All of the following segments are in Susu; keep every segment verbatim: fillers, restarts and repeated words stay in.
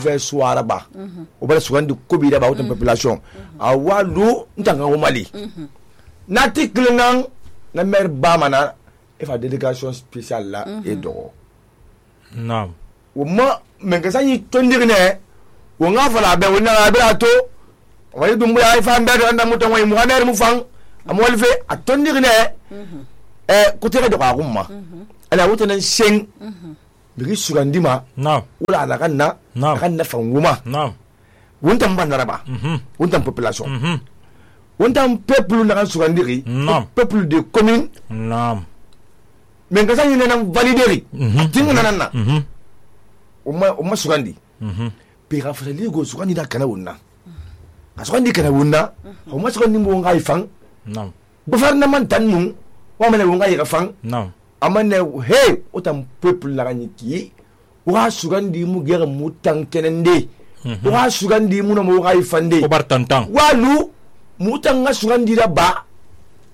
ve suara ba o bala sugandi kobi da ba o population awalu ntanga o Mali nati klingan na mer ba mana e fa délégation spéciale là et do naam o ma men ka sanyi tondirne o nga fala be wona be ato wali dum ya fa mbe do anda mutan way mu haner mu fang amol fe atondirne eh ko tere do ka gumma ala wutana seng bigi sugandima naam wala ala kanna kanna fanguma naam wontam bandaraba wontam population wontam peuple na kan sugandiri peuple de commune naam men ka sanyi nan valideri tinga nan na o ma o ma sugandi pe ga fa ligo sugandi da kana wonna asugandi kana wonna o ma sugandi mo ngai fang naam gouvernement tanu wa mena wo ngai ga fang naam amane he otam peuple la ganiki wa sugandi mu gera mutan kenende wa sugandi mu no mo ngai fande o bar tantang walu mutan nga sugandi da ba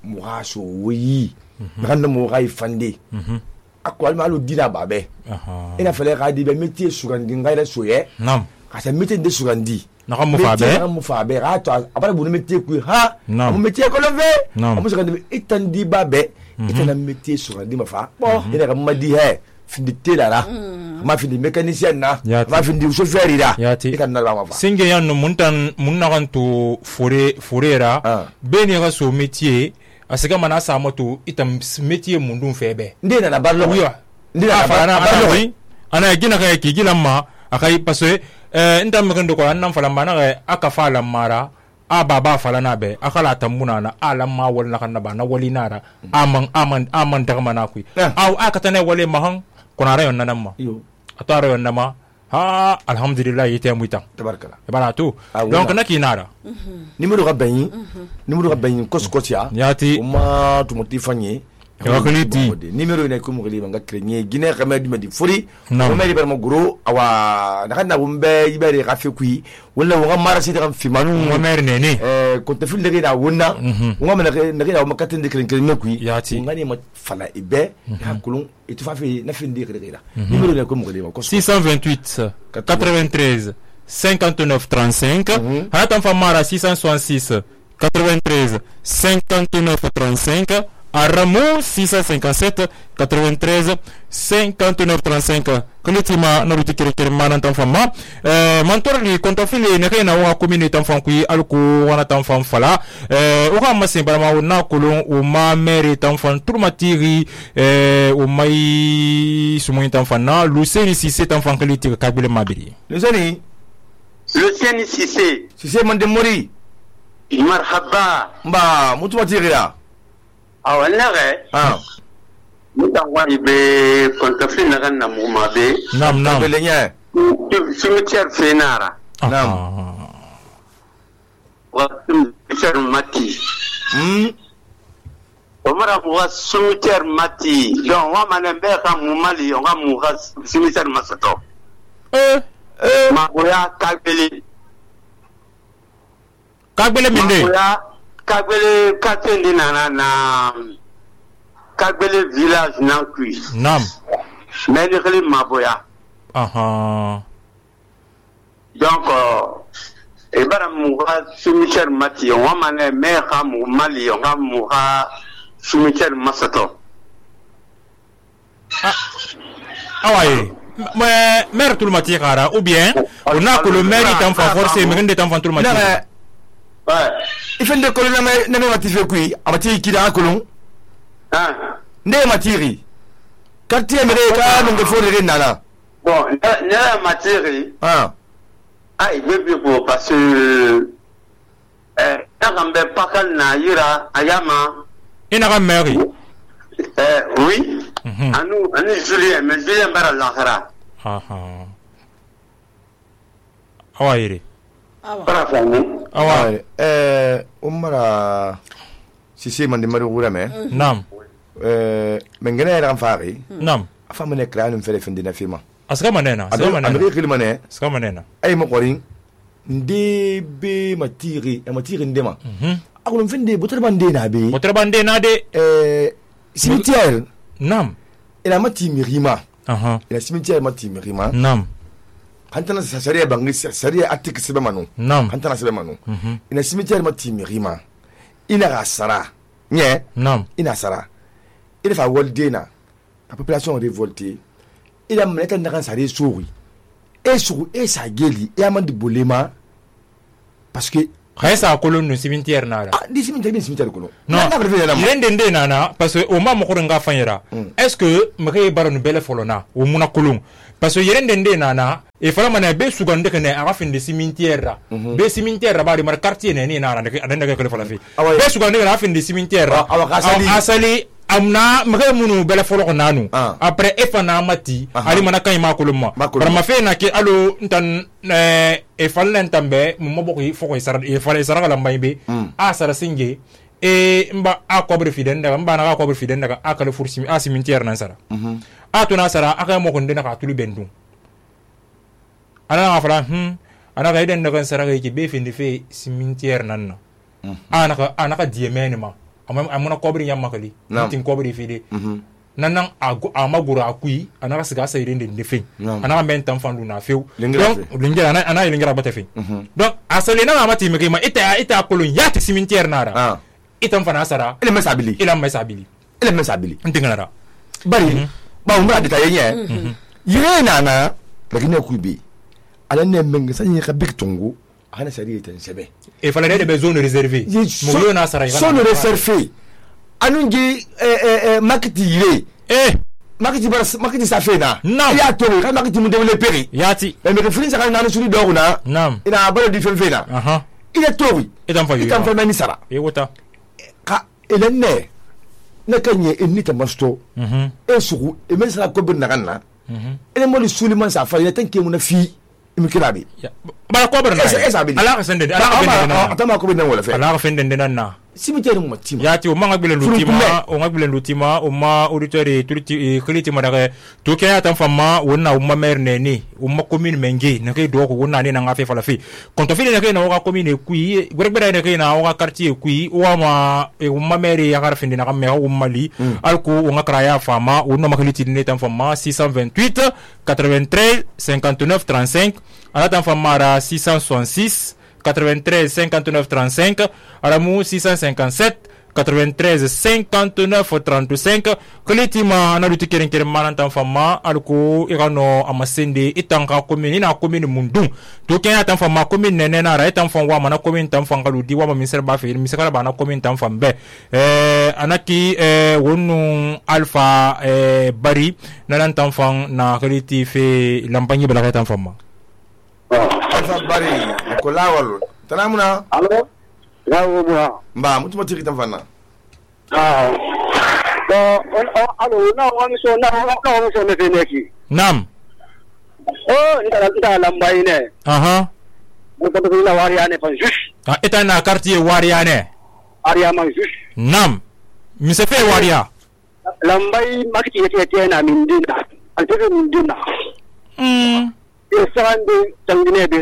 mu ha so wi randa mo ngai fande akwal malu dina babe aha ina fele ga di be métier sugandi ngai la soye naam ka sa métier de sugandi na mu fabe na mu fabe ra to abara bu métier ku ha mu métier ko leve mu sugandi itandi babe itana métier sugandi ma fa ina ga madi he findi la ma findi mécanicien na ma findi chauffeur ira ikan na la fa singe yan muntan munna kan to fore forera be ne ga so métier asika mana sa moto itam métier mundun febe ndena na ballo wiwa ndena na ballo ana gina ka ki gila ma akai parce eh ndam kan do ko annam fala mana aka fala mara a baba fala na be akala tambuna na alam ma wal na kan na ba na wali nara aman aman aman daga mana ku aw aka tane wale mahan kuna rayon nan ma yo atara yon nama ha alhamdulillah yete muita tabarkala bana to donc na kinara numéro ga bayin numéro ga bayin koskotia yati uma tumoti fanye yakaliti numéro ina ko mo gali nga krenye gine xamé dum di furi mo meri ber mo gro awa nakana bumbe ibere rafi kui wala wo mara sidi kam fi manu mo mer nene eh ko te fil de na wonna ngo me na na ma katin de kren kren kui yati ngani ma fala ibe ha kulun et tu fa fi na fin de kren numéro ina ko mo gali ko six cent vingt-huit quatre-vingt-treize cinquante-neuf trente-cinq hata mfamara six cent soixante-six quatre-vingt-treize cinquante-neuf trente-cinq Aramo six cent cinquante-sept quatre-vingt-treize cinquante-neuf trente-cinq kalitima na ruti kere kere mana tan fama eh mantor li konta fili ne kena wa commune tan fam kui alko wana tan fam fala eh o ga masin barama na kolon o ma mere tan fam turmatiri eh o mai sumo tan fam na Luceni Cissé tan fam kaliti ka bele mabiri Luceni Luceni Cissé Cissé man de mori marhaba ba mutumatiri ya awala re ah mutan wani be kontafin na kan namu ma be nam nam belenya cimetière fenara nam wa cimetière mati hmm omara wa cimetière mati donc wa manen be ka mu mali on ga mu ga cimetière masato eh eh ma boya kagbele kagbele minde Kagbele Katende na na Kagbele village nan kui. Nam. Mais ne kele maboya. Aha. Donc e bara mu ga cimetière mati on wa mané me ka mu mali on ga mu ga cimetière masato. Ah. Awaye. Mais maire tout le mati kara ou bien on a que le maire est en force mais ngende tan tout le mati. Ouais. Il fait de colonne na na mati fe kui amati kida kolon Ah. Ne matiri quartier mere ka no fo de nana Bon, na matiri ah ah il veut bien pour parce que eh na kambe pakal na yira ayama Ina ga maire. eh oui anu anu Julien mais Julien bara lahara Aha. Awaye. para fani Awa. eh umara Cissé man de mari wura me Nam. eh mengene era fari Nam. afa mene kranum fere fin dina fima Aska manena, aska manena. amri kilmane Aska manena. ay mo qorin ndebe matiri e matiri ndema Mhm. akulum fin de butar bande na be Votre bande na de eh cimetière Nam. ila mati mirima Aha. ila cimetière mati mirima Nam. hantana sariya bangi sariya article sebe manu Naam. hantana sebe manu ina cimetière ma timirima ina ga sara nye Naam. ina sara ina fa woldena la population révoltée ila mneta ndakan sari souri e souri e sa geli e amandi bolema parce que Khaisa kolon no cimetière nara. ah di cimetière di cimetière kono Non. Yende nde nana parce que o ma mo ko nga fanyera. Est-ce que meke baro no bele folona o muna kolon parce que yende nde nana e fala mana be sugande kene aga fin de cimetière ra. Be cimetière ra ba de mar quartier ne ni nana de adenda ke fala fi. Be sugande na fin de cimetière ra. Asali amna meke munu bele folo nanu. Après e fana mati ali mana kay ma kolon ma. Par ma fe na ke alo ntan e falla ntambe mo boko foko isara e falla isara la mbaybe a sara singe e mba a kobre fiden daga mba na kobre fiden daga akale fursi a cimetière nan sara a to na sara aka mo ko ndena ka tulu bendu ana na fala hm ana ga iden daga sara ga ki be finde fe cimetière nan na ana ka ana ka diemene ma amma amuna kobre yamma kali tin kobre fide nanan amagura akui anaka siga sayre de defin anaka men tan fandu na few donc lingira ana ana lingira bata fe donc asale na amati me ma ita ita kolon yati cimetière nara itam fana sara ele mesabili ele mesabili ele mesabili ntingara bari ba umra de tayenye yire nana bagine kubi ala ne menga sanyi ka big tongo ana sari ita sebe e fala de be zone réservée mo yo na sara zone réservée anungi eh eh makiti yire eh makiti bar makiti safena Naam. ya to ka makiti mu dewle peri yati e me refrin saka nanu suri doguna Naam. ina balo di fenfena aha ila tori itam fa yo itam fa mani sara e wota ka elenne ne kanye enni tamasto mhm e sugu e men sara ko bin naganna mhm ele mo li suliman sa fa ina tanke mu na fi imikirabi bara ko bara na Esa- esa bili. ala ka sende ala ka bende na atama ko bin wala fe ala ka fende na cimetière mu matima yati o manga bilen lutima o manga bilen lutima o ma auditeur e tuliti kliti madare to ke atan fama wonna o ma mer ne ni o ma commune mengi na ke do ko wonna ne na ngafe fala fi konto fili na ke na o ka commune kui gbegbere ne ke na o ka quartier kui o ma e o ma mer ya garfindi na me o mali alko o nga kraya fama o no makliti ne tan fama six cent vingt-huit quatre-vingt-treize cinquante-neuf trente-cinq ala tan fama ra six cent soixante-six quatre-vingt-treize cinquante-neuf trente-cinq Aramu six cent cinquante-sept quatre-vingt-treize cinquante-neuf trente-cinq Kalitima analuti keren keren manantan fama alko irano amasende itanka commune ina commune mundu to kenya tan fama commune nene na ra tan fam wa mana commune tan fam galudi wa ministère ba fe ministère ba na commune tan fam be eh anaki eh wonu alpha eh bari nanan tan fam na kaliti fe lampanyi bala tan fama alfa bari ko lawol tanamuna Alo? Gawo mwa. mba mutuma tiri tan fanna Ah. So, on on alo na wani so na na wani so ne feneki. nam Oh, nda nda lambai ne. aha Mun ko to na wari ane fan jus. ah eta na quartier wariane Aria man jus. nam mise fe waria Lambai makiti yete yete na mindina. Antebe mindina. mm E sande tangine be.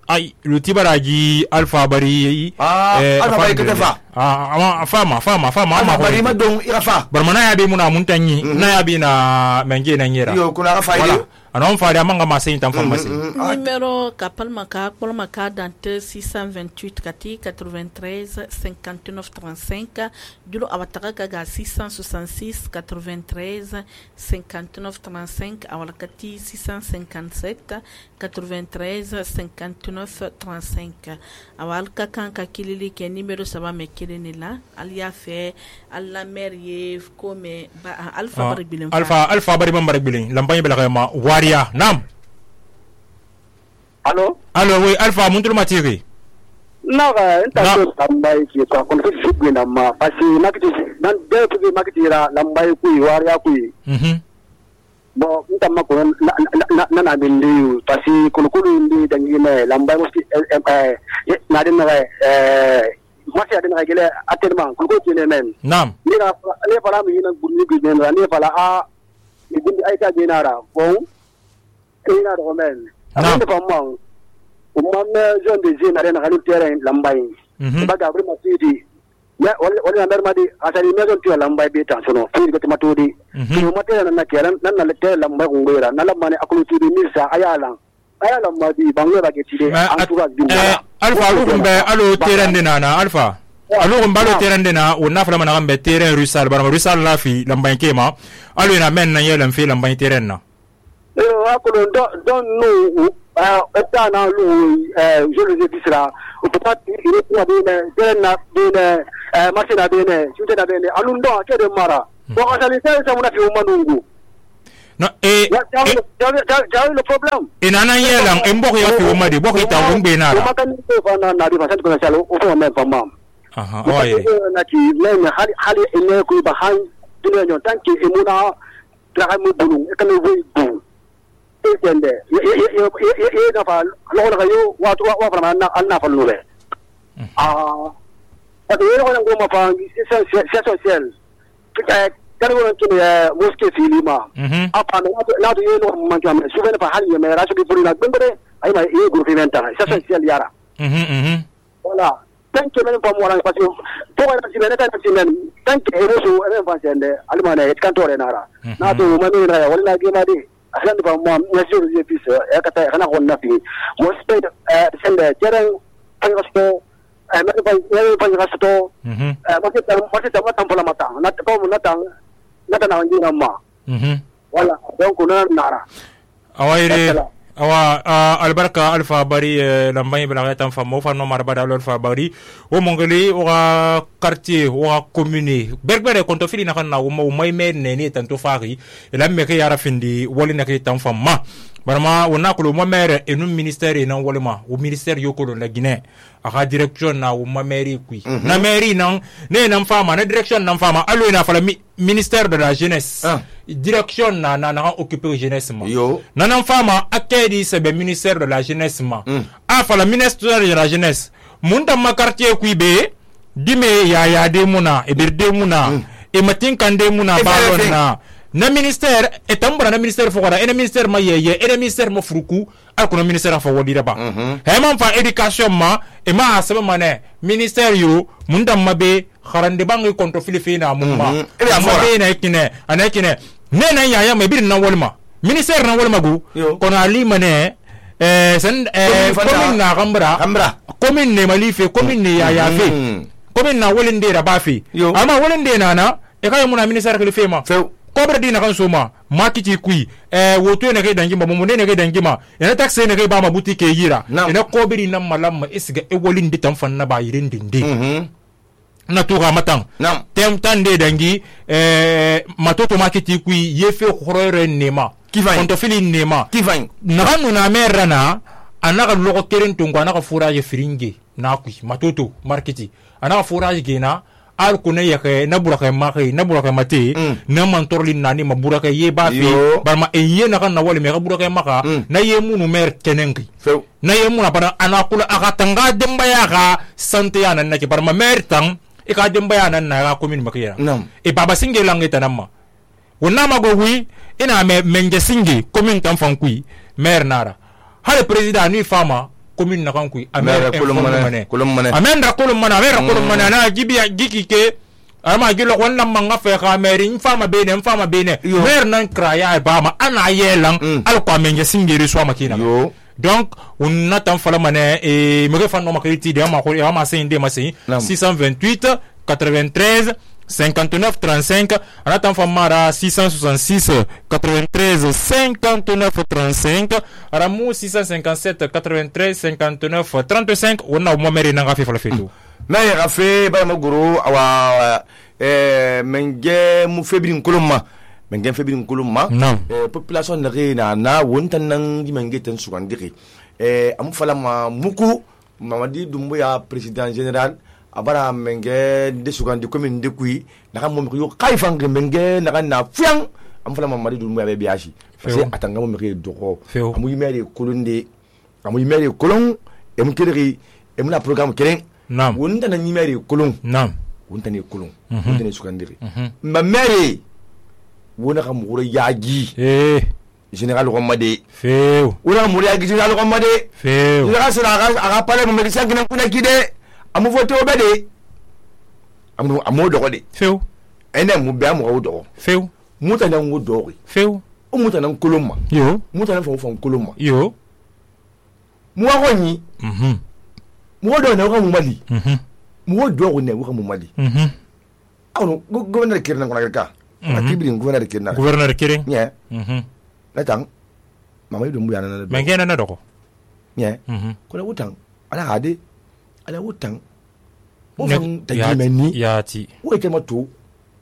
ay luti baraji alpha bari Ah, Alpha Bari kete fa. ah ama fama fama fama ama alfa bari ma don irafa barmana ya be muna muntanyi na ya be na menge na nyera yo kuna rafa voilà ile anon fa da manga masin tan pharmacie Numéro Kapal Maka, Kapal Maka, Dante six cent vingt-huit, Kati quatre-vingt-treize cinquante-neuf trente-cinq, Dulo Avatara Gaga six cent soixante-six quatre-vingt-treize cinquante-neuf trente-cinq, Awalakati six cent cinquante-sept quatre-vingt-treize cinquante-neuf trente-cinq, Awalka Kanka Kilili qui est numéro ça va me kilinila, Alia fait Alla Merie comme Alpha Baribilin. alpha alpha bari bambara bilin lampanye bela ma waria nam Alo? allo oui alpha muntul matiri Naga nta so lambai ki to kon fi fi na ma pasi makiti nan de fi makiti ra lambai ku wari ya ku mhm bo nta ma ko na na na bindi pasi kun kun ndi dangine lambai musti eh na den na eh masi adin ga gele atellement kun ko tene men nam ni na ne fara mi na gunni bi ne ne fara a ni gundi ay ka dinara bon ina do men Naam. ande ko mo umma me zone de zine na na halu terrain lambai mhm ba ga bri masidi ya wala na mermadi asari mezo tiyo lamba be tan sono fi ko matodi to mate na kelan nan na te lamba ngora na lamba ne akulu tudi misa ayala ayala madi bangwe ba ke tide antura eh alfa lu kumbe alo terende nana alfa alo kumbe alo terende na wona fala mana gambe terrain rusal barama rusal la fi lamba nkema alo ina men na yelan fi lamba terrain na eh akulu don don no eta na lu eh je le dis là ou peut-être il est pour bien bien bien eh machine bien chute na bien alundo akede mara ko asali sai sai muna fi umanungu no eh jawi le problème inana yelan embok ya fi umadi bok ita umbe na ko makani ko fana na di fasan ko na salo o fo men fama aha oye na ki men hali hali ene ko ba han dunya nyon tanki emuna tra mu bulu e kan we bu tende ye ye ye na fa lo la yo wa wa fa na na fa lure ah ate yo ko ngo ma fa c'est c'est social ka ka ngo to ne mosque filima apa na na to yo no ma jam su vena fa hali me ra su di puri na gbengre ay ma e groupe inventa c'est social yara mhm mhm voilà tant que même pas moi parce que pour être si bene tant que même tant que e so e fa sende almana e kantore nara na to ma ni na wala ge ma di asan ba mo monsieur le fils e kata kana ko nafi mo spend eh sende jeren angosto eh me ba me ba gasto mhm eh mo ta mo ta mo tampola mata na ko mo na tang na ta na ngi na ma mhm wala donc na nara awaire awa albarka alfa bari lambay bala tan famo fa no marba dal alfa bari o mongoli o quartier o commune berbere konto fili na kan na o may men ne tan to fari la me ke yara findi woli na ke tan fama barama wona ko mo mere e no ministère e nan wolima o ministère yoko la Guinée aka direction na o ma mairie kui na mairie nan ne nan fama na direction nan fama alo na fala ministère de la jeunesse direction na na na occuper jeunesse ma na nan fama akedi c'est le ministère de la jeunesse ma a fala ministère de la jeunesse munda ma quartier kui be dime ya ya de muna e berde muna e matin kande muna balon na na ministère et tambra na ministère fokora et na ministère ma yeye et na ministère ma furuku al ko na ministère fa wodi ba he man fa éducation ma e ma asaba mané ministère yo munda mabe kharande bangi konto filifina mumma e ma be na kine ana kine ne na yaya me bir na wolma ministère na wolma gu kono ali mané eh sen eh commune na gambra gambra commune ne malife commune ne yaya fe commune na wolinde da ba fe ama wolinde na na e kay muna ministère filifema kobre dina kan soma makiti kui eh woto ne ke dangi ma mo ne ke dangi ma ene taxe ne ke ba ma boutique yira ene kobri na malam isiga e wolin ditam fan na ba yirin dinde mhm na to ga matan tem tande dangi eh matoto makiti kui yefe khorore nema konto fili nema kifan na kanu na merana anaka logo keren tungo anaka fourage firinge na kui matoto marketi anaka fourage gena al kuna yake na buraka maki na buraka mate na mantorli nani ma buraka ye ba fi barma e ye na kan na wale me buraka maka na ye munu mer kenengi na ye munu para anakula akatanga demba ya ga sante ya nan nake barma mer tang e ka demba ya nan na ga commune makira e baba singe langeta namma wonna mago wi ina me menge singe commune tan fankui mer nara hale president ni fama commune na kan kui amera kolomane kolomane amera kolomane amera kolomane na gibia gikike ama gilo wonna manga fe ka meri mfama bene mfama bene mer nan kraya ba ma ana yelang al ko amenge singiri so makina donc on attend fala mané et me refan no makriti de ma ko ma sinde ma six cent vingt-huit quatre-vingt-treize cinquante-neuf trente-cinq on attend famara six cent soixante-six quatre-vingt-treize cinquante-neuf trente-cinq aramu six cent cinquante-sept quatre-vingt-treize cinquante-neuf trente-cinq on a mo meri na gafi fala fetu na ya gafi ba ma guru awa eh menge mu febrin kulumma menge febrin kulumma eh population na na na wontan nan di menge tan sugandiri eh am fala ma muku mamadi dumbuya président général abara menge de sugandi commune de kui na kam mo yo kayfan menge na kan na fiang am fala mamadi dumbuya be biashi parce que atanga mo meke doko amu yimere kolonde amu yimere kolon em kiri em na programme keren nam wonta na yimere kolon nam wonta ne kolon wonta ne sugandiri ma mere wona kam wuro yaagi eh général Romade feu wona mo yaagi général Romade feu général sera aga pale mo medecin kina kuna kide amu voto obede amu amo dogo de few ene mu be amu dogo few muta nan wo dogo few o muta nan kolomma yo muta nan fo fo kolomma yo mu wa ni mhm mu do na ko mu mali mhm mu do ne ko mu mali mhm awu gouverneur kirna ko na ka atibiri gouverneur kirna gouverneur kiring nye mhm la tang mama yido mu yana na mengena na dogo nye mhm ko la wutang ala hade ala wutang o Ne- fan ya- tajimeni yati wo ite mato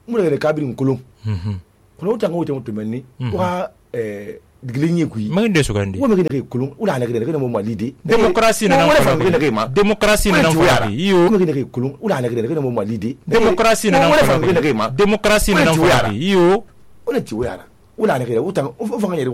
mu le kabiri kolom mhm ko la wutang wo ite mato menni wa eh digilinyi ku yi mengende sugandi wo me ne kolom ula na ne mo malide démocratie na wala nan fan ne ma démocratie na nan fari yo wo me ne kolom ula na ne mo malide démocratie na nan wala fan ne fari ma démocratie na nan fari yo wala ti wo yara ula na ne wutang o fa ngani